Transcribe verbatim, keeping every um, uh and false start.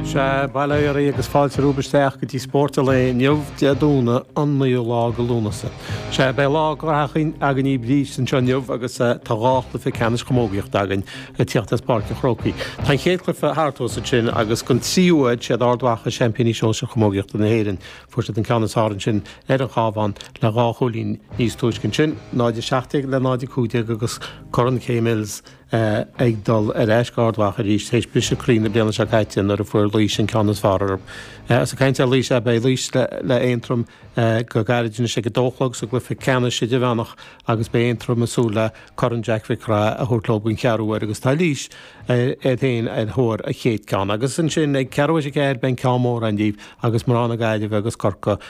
Sea, bail ó Dhia oraibh agus fáilte romhaibh isteach go dtí Spórt an Lae inniu Dé Domhnaigh an naoú lá de Lúnasa. Sea, beidh lá graitheach againn arís anseo inniu agus tá dhá chluiche ceannais chamógaíochta againn ag tíocht as Páirc an Chrócaigh. Tá an chéad chluiche thart thuas ansin agus don tríú huair siad Ard Mhacha seaimpíní sóisir chamógaíochta na hÉireann. Fuair siad an ceann is fearr ansin ar an Chabhán le dhá chúilín níos túisce ansin, náid a seacht déag le náid a cúig déag agus Corn Kay Mills ag dul ar ais go Ard Mhacha arís théis briseadh croí na bliana seo caite nuair a fuair Laois an ceann is fearr orthu. Is ag caint ar Laois, beidh Laois le Aontroim go gairid anois ag a dó a chlog sa gcluiche ceannais idirmheánach agus beidh Aontroim ag súil le Corn Jack Mhic Craith a thabhairt leo den cheathrú huair agus tá Laois iad féin ar thóir a chéad ceann. Agus ansin ag ceathrú tar éis a ceathair beidh an ceann mór ann daoibh agus mná na Gaillimhe agus Corcaigh